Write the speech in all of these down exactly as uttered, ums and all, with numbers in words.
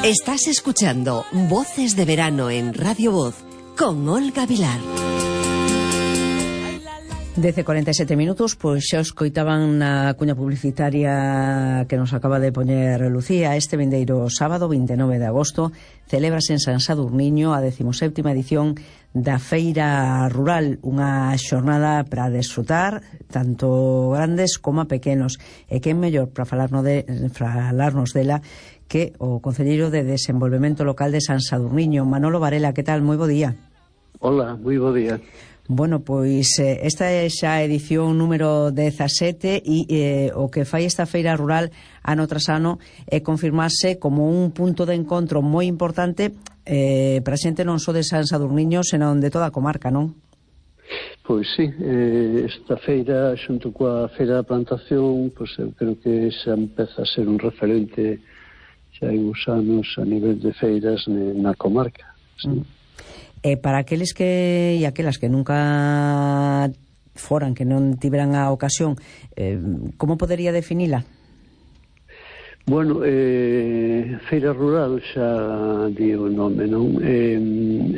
Estás escuchando Voces de Verano en Radio Voz con Olga Vilar. Dece cuarenta e sete minutos, pois xa escoitaban na cuña publicitaria que nos acaba de poñer Lucía. Este vindeiro sábado, vinte e nove de agosto, celébrase en San Sadurniño a decimoséptima edición da Feira Rural, unha xornada para desfrutar tanto grandes como pequenos. E quen mellor para falarnos, de, para falarnos dela que o Concelleiro de Desenvolvemento Local de San Sadurniño, Manolo Varela. Que tal? Moi bo día. Hola, moi bo día. Bueno, pois eh, esta é xa a edición número dezasete e eh, o que fai esta feira rural ano tras ano é confirmarse como un punto de encontro moi importante eh, para a xente non só de San Sadurniño, senón de toda a comarca, non? Pois sí, eh, esta feira xunto coa feira da plantación, pois eu creo que xa empeza a ser un referente xa hai uns anos a nivel de feiras na comarca, sí. Mm. E para aqueles que e aquelas que nunca foran, que non tiveran a ocasión, eh, como podería definila? Bueno, eh, Feira Rural xa di o nome, non? Eh,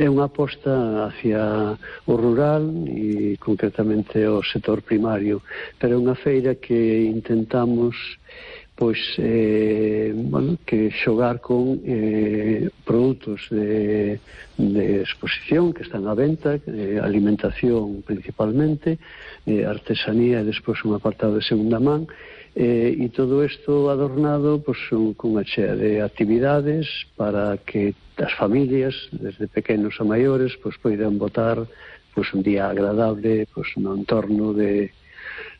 é unha aposta hacia o rural e concretamente o sector primario, pero é unha feira que intentamos pois eh, bueno, que xogar con eh, produtos de, de exposición que están á venta, eh, alimentación principalmente, eh, artesanía e despois un apartado de segunda man, eh, e todo isto adornado pois, con unha chea de actividades para que as familias, desde pequenos a maiores, pois poidan botar pois, un día agradable pois, no entorno de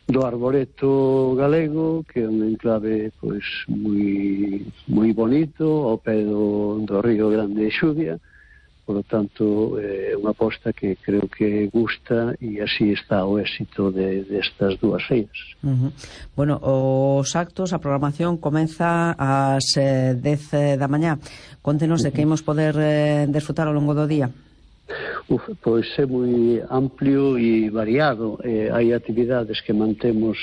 do Arboreto galego, que é un enclave pois moi moi bonito ao pé do, do Río Grande de Xuvia. Por lo tanto, é eh, unha aposta que creo que gusta e así está o éxito de, destas dúas feiras. Uh-huh. Bueno, os actos, a programación comeza ás eh, dez da mañá. Contenos uh-huh. de que imos poder eh, desfrutar ao longo do día. Uf, pois é moi amplio e variado. Eh, hai actividades que mantemos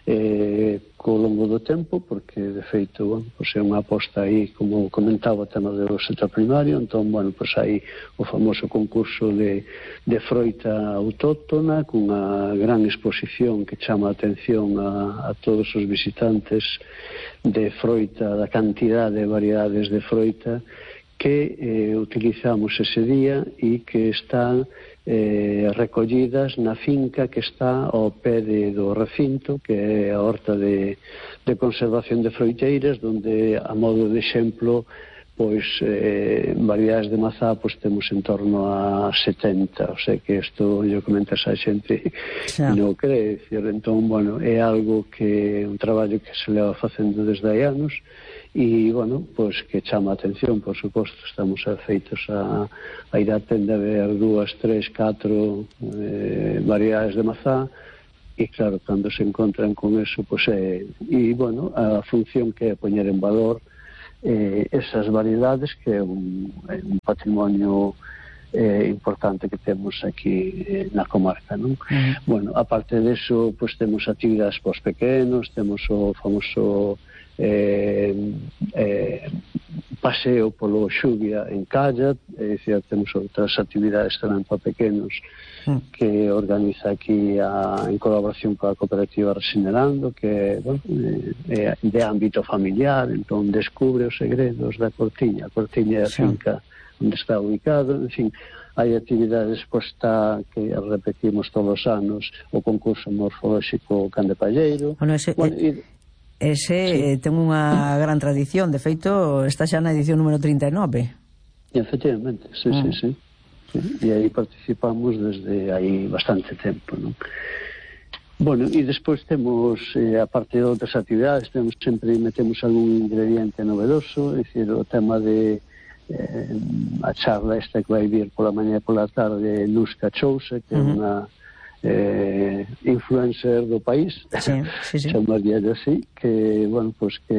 eh, co longo do tempo, porque de feito, bueno, pois é unha aposta aí, como comentaba, o tema do sector primario. Entón, bueno, pois hai o famoso concurso de, de froita autóctona, cunha gran exposición que chama a atención a, a todos os visitantes de froita, da cantidade de variedades de froita que eh, utilizamos ese día e que están eh, recollidas na finca que está ao pé de, do recinto, que é a horta de, de conservación de froiteiras, donde, a modo de exemplo, pois eh, variedades de mazá pois temos en torno a setenta, o sea que isto yo comentas a xente xa non cree, decir, entón, bueno, é algo que un traballo que se leva facendo desde hai anos. E, bueno, pois que chama a atención, por suposto, estamos afeitos a, a ir a tenda a ver dúas, tres, catro eh, variedades de mazá, e claro, cando se encontran con eso, pois é, e, bueno, a función que é poñer en valor eh, esas variedades, que é un, é un patrimonio eh, importante que temos aquí eh, na comarca, non? Uh-huh. Bueno, aparte deso, pois temos actividades pos pequenos, temos o famoso Eh, eh, paseo polo Xuvia en Calla, é dicir, temos outras actividades tamén para pequenos mm. que organiza aquí a, en colaboración coa cooperativa Resinerando, que bueno, é de ámbito familiar. Entón descubre os segredos da Cortiña. A Cortiña é a finca sí. onde está ubicado, en fin. Hai actividades, pois está, que repetimos todos os anos, o concurso morfolóxico Can de Palleiro. Bueno, ese, bueno, e, ese sí. eh, ten unha gran tradición. De feito, está xa na edición número trinta e nove. Efectivamente, sí, mm. sí, sí, sí. E aí participamos desde aí bastante tempo, non? Bueno, e despois temos, eh, a parte de outras actividades, temos sempre metemos algún ingrediente novedoso, é dicir, o tema de eh, a charla esta que vai vir pola mañá e pola tarde, Luz Cachousa, que é uh-huh. unha eh, influencer do país, sí, sí, sí. chamaría así, que, bueno, pues que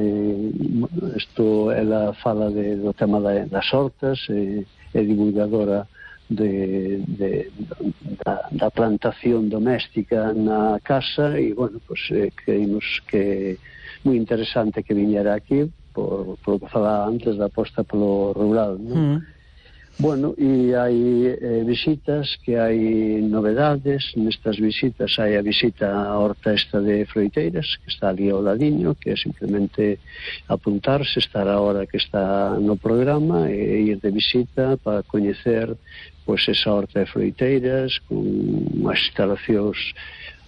isto, ela fala de, do tema da, das hortas, e é divulgadora de, de, da, da plantación doméstica na casa, e, bueno, pues eh, creímos que moi interesante que viñera aquí por, por lo que falaba antes da aposta polo rural, non? Mm. Bueno, e hai eh, visitas, que hai novedades. Nestas visitas hai a visita á horta esta de froiteiras, que está ali ao ladiño, que é simplemente apuntarse, estar a hora que está no programa e ir de visita para coñecer pois esa horta de froiteiras con as instalacións,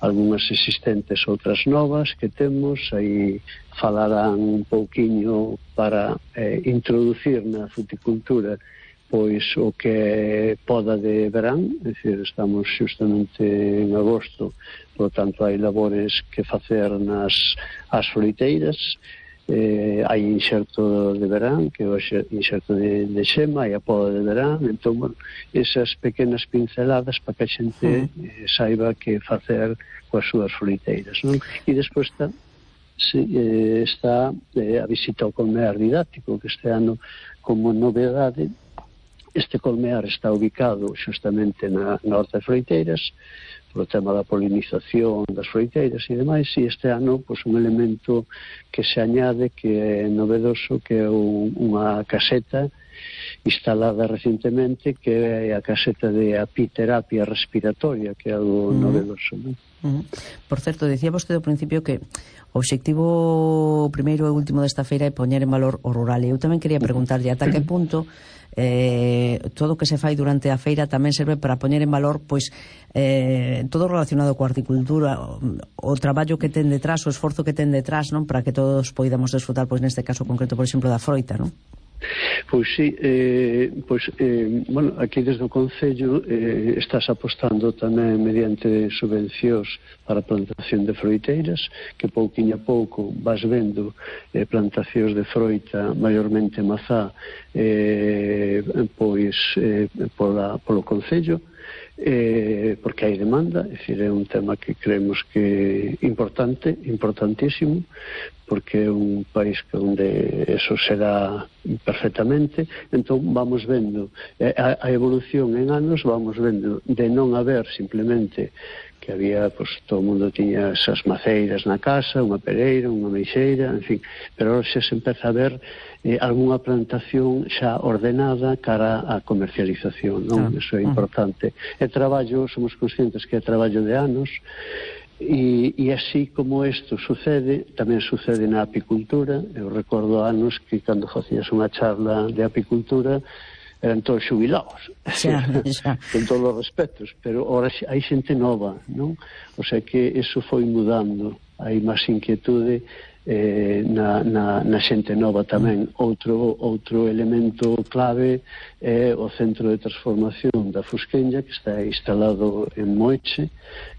algunhas existentes, outras novas que temos. Aí falarán un pouquiño para eh, introducir na fruticultura pois o que é poda de verán, é dicir, estamos justamente en agosto, por lo tanto hai labores que facer nas as froiteiras. Eh, hai inxerto de verán, que é o inxerto de, de xema, hai a poda de verán. Entón, bueno, esas pequenas pinceladas para que a xente eh, saiba que facer coas súas froiteiras, non? E despois está, sí, eh, está eh, a visita ao colmear didáctico, que este ano, como novedade, este colmear está ubicado xustamente na, na horta de froiteiras, polo tema da polinización das froiteiras e demais, e este ano pois, un elemento que se añade, que é novedoso, que é un, unha caseta instalada recentemente, que é a caseta de apiterapia respiratoria, que é algo mm. novedoso, non? Mm. Por certo, decía vostede ao principio que o obxectivo primeiro e último desta feira é poñer en valor o rural, e eu tamén quería preguntarlle ata que punto eh, todo o que se fai durante a feira tamén serve para poñer en valor pois eh, todo relacionado coa horticultura, o, o traballo que ten detrás, o esforzo que ten detrás, non, para que todos poidamos desfrutar, pois neste caso concreto, por exemplo, da froita, non? Pois sí, eh, pois, eh, bueno, aquí desde o Concello eh, estás apostando tamén mediante subvencións para a plantación de froiteiras, que pouquinho a pouco vas vendo eh, plantacións de froita, maiormente mazá, eh, pois eh, pola, polo Concello, eh, porque hai demanda, é dicir, é un tema que creemos que é importante, importantísimo, porque é un país onde eso se dá perfectamente. Entón vamos vendo a, a evolución en anos, vamos vendo de non haber simplemente que había, pois, todo o mundo tiña esas maceiras na casa, unha pereira, unha meixeira, en fin, pero ahora xa se empeza a ver eh, algunha plantación xa ordenada cara á comercialización, non? Ah, eso é importante. É traballo, somos conscientes que é traballo de anos, e, e así como isto sucede, tamén sucede na apicultura. Eu recordo anos que cando facías unha charla de apicultura eran todos xubilados, xa, xa. Con todos os respetos, pero ahora hai xente nova, non? O sea que eso foi mudando, hai máis inquietude eh, na, na, na xente nova tamén. Outro, outro elemento clave é o centro de transformación da Fusqueña, que está instalado en Moeche,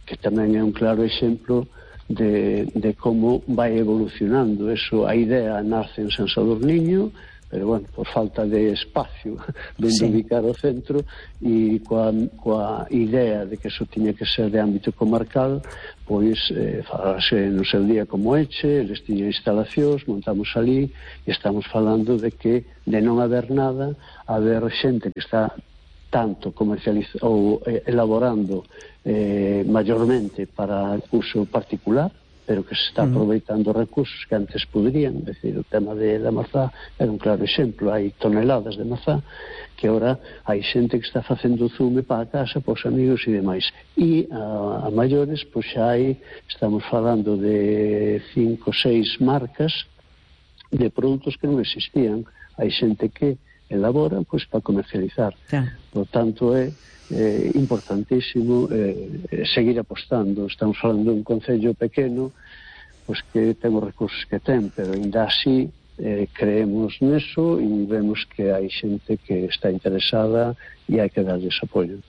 que tamén é un claro exemplo de, de como vai evolucionando. Eso, a idea nace en San Sadurniño, pero, bueno, por falta de espacio donde sí. ubicar o centro, e coa, coa idea de que eso tiña que ser de ámbito comarcal, pois eh, falase no seu día como Eche, eles tiñan instalacións, montamos ali, e estamos falando de que de non haber nada, haber xente que está tanto comercializando ou eh, elaborando eh, maiormente para uso particular, pero que se está aproveitando recursos que antes poderían. É dicir, o tema de, da mazá era un claro exemplo. Hai toneladas de mazá que agora hai xente que está facendo zume para a casa, para os amigos e demais. E a, a maiores, pois xa hai, estamos falando de cinco, seis marcas de produtos que non existían. Hai xente que elabora, pois, para comercializar. Yeah. Por tanto, é eh, importantísimo eh, seguir apostando. Estamos falando de un concello pequeno, pois que ten os recursos que ten, pero ainda así eh, creemos neso e vemos que hai xente que está interesada e hai que darles apoio.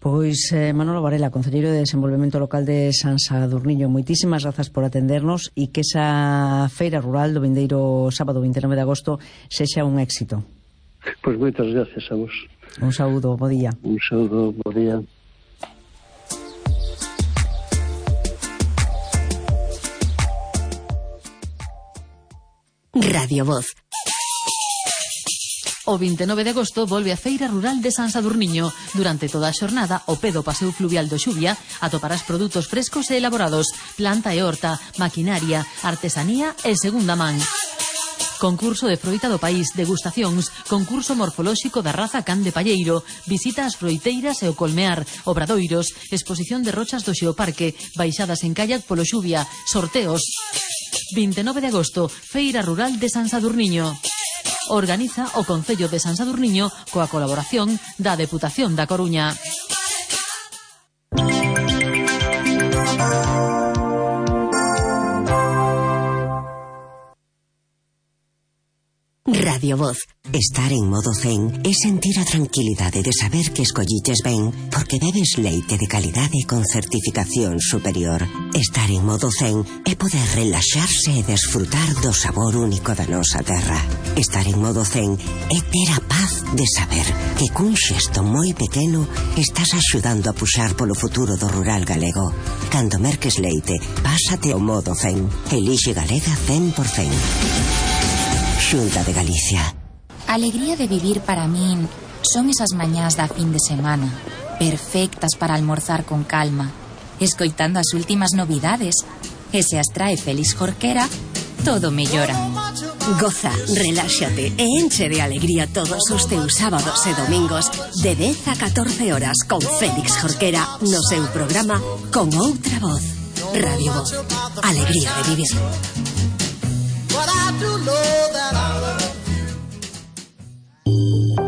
Pois eh, Manolo Varela, Concelleiro de Desenvolvemento Local de San Sadurniño, moitísimas grazas por atendernos e que esa feira rural do vindeiro sábado vinte e nove de agosto sexa un éxito. Pois moitas gracias a vos. Un saúdo, bo día. Un saúdo, bo día. Radio Voz. O vinte e nove de agosto volve a Feira Rural de San Sadurniño. Durante toda a xornada, ao pé do Paseo Fluvial do Xubia, atoparás produtos frescos e elaborados, planta e horta, maquinaria, artesanía e segunda man. Concurso de froita do país, degustacións, concurso morfolóxico da raza can de palleiro, visita ás froiteiras e o colmear, obradoiros, exposición de rochas do Xeoparque, baixadas en kayak polo Xuvia, sorteos. vinte e nove de agosto, Feira Rural de San Sadurniño. Organiza o Concello de San Sadurniño coa colaboración da Deputación da Coruña. Radio Voz. Estar en modo zen é sentir a tranquilidade de saber que escolliches ben porque bebes leite de calidade con certificación superior. Estar en modo zen é poder relaxarse e desfrutar do sabor único da nosa terra. Estar en modo zen é ter a paz de saber que cun xesto moi pequeno estás axudando a puxar polo futuro do rural galego. Cando merques leite, pásate ao modo zen. Elixe Galega cen por cen. Xunta de Galicia. A alegría de vivir para min son esas mañás da fin de semana, perfectas para almorzar con calma, escoitando as últimas novidades, e se as trae Félix Jorquera, todo mellora. Goza, reláxate e enche de alegría todos os teus sábados e domingos de dez a catorce horas con Félix Jorquera no seu programa Con Outra Voz. Radio Voz. Alegría de vivir.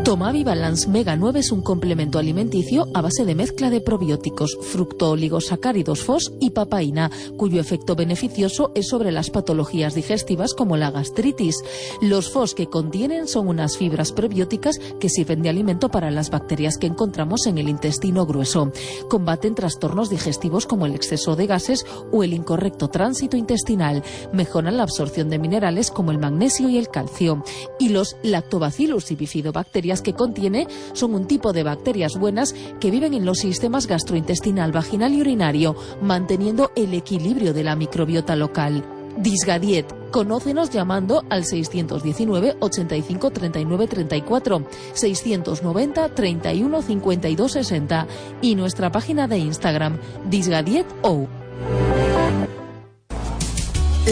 Tomavi Balance Mega nueve es un complemento alimenticio a base de mezcla de probióticos, fructooligosacáridos F O S y papaína, cuyo efecto beneficioso es sobre las patologías digestivas como la gastritis. Los F O S que contienen son unas fibras prebióticas que sirven de alimento para las bacterias que encontramos en el intestino grueso. Combaten trastornos digestivos como el exceso de gases o el incorrecto tránsito intestinal. Mejoran la absorción de minerales como el magnesio y el calcio. Y los lactobacillus y bifidobacterias que contiene son un tipo de bacterias buenas que viven en los sistemas gastrointestinal, vaginal y urinario, manteniendo el equilibrio de la microbiota local. Disgadiet. Conócenos llamando al seiscientos diecinueve, ochenta y cinco, treinta y nueve, treinta y cuatro, seiscientos noventa, treinta y uno, cincuenta y dos, sesenta y nuestra página de Instagram, disgadiet.ou.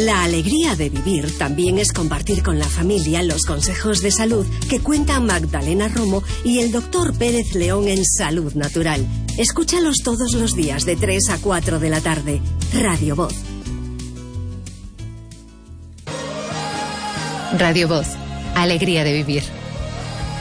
La alegría de vivir también es compartir con la familia los consejos de salud que cuentan Magdalena Romo y el doctor Pérez León en Salud Natural. Escúchalos todos los días de tres a cuatro de la tarde. Radio Voz. Radio Voz. Alegría de vivir.